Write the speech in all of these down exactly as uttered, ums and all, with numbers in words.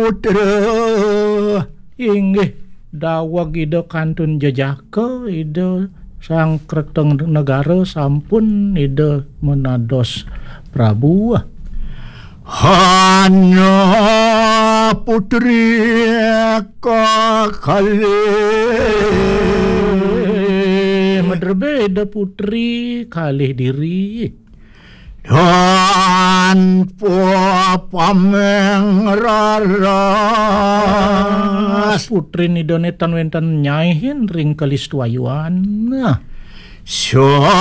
Putra. Inggih, daweg Ida kantun jejaka, Ida Sang Kertanegara sampun Ida menados Prabu. Hana putri kakalih. Madrebe Ida putri kalih diri. Dan pamengrar. Putrin Ida ne tan wenten nyaihin ring kalistuayuan. Nah. Sawargeng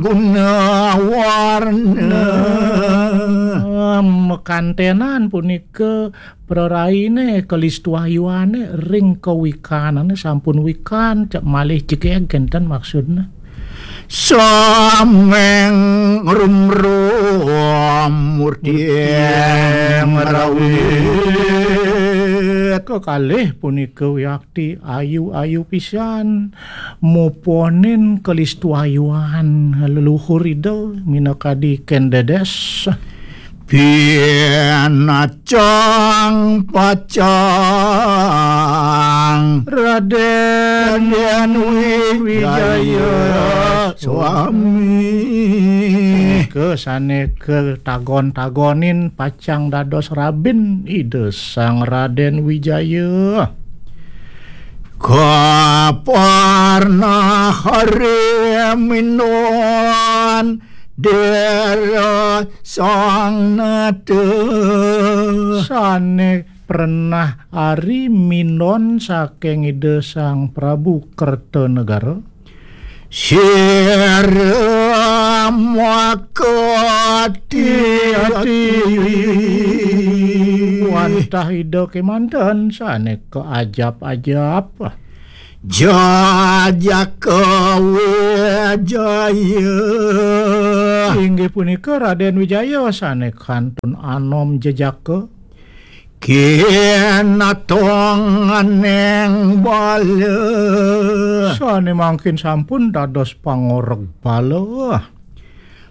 gunawarna. Nah, mekantenan punika praraine kalistuayuane ring kawikanane sampun wikan, cek malih cekeg kenten maksudne. Sameng rumrum murti merawit. Kekalih punika wiakti ayu-ayu pisan, muponin kalistuayuan leluhur Ida minakadi kendedes. Pinacang pacang Raden Wijaya Swami. Ke sane ketagon-tagonin pacang dados rabin Ida Sang Raden Wijaya. Kaparna hari minon dera sang nata. Sane pernah ari minon saking Ida Sang Prabu Kertanegara. Sira makati ati. Wantah Ida kemanten sane keajap-ajap. Jajaka Wijaya. Inggih punika Raden Wijaya sane kantun anom jejaka. Kinatonganeng bala. Sane mangkin sampun dados pangoreg bala.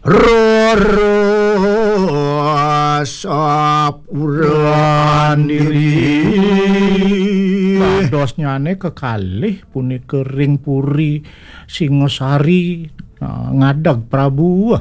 Roro sapuran diri. Dadosnyane kekalih punika ring puri Singasari, nah, ngadeg Prabu.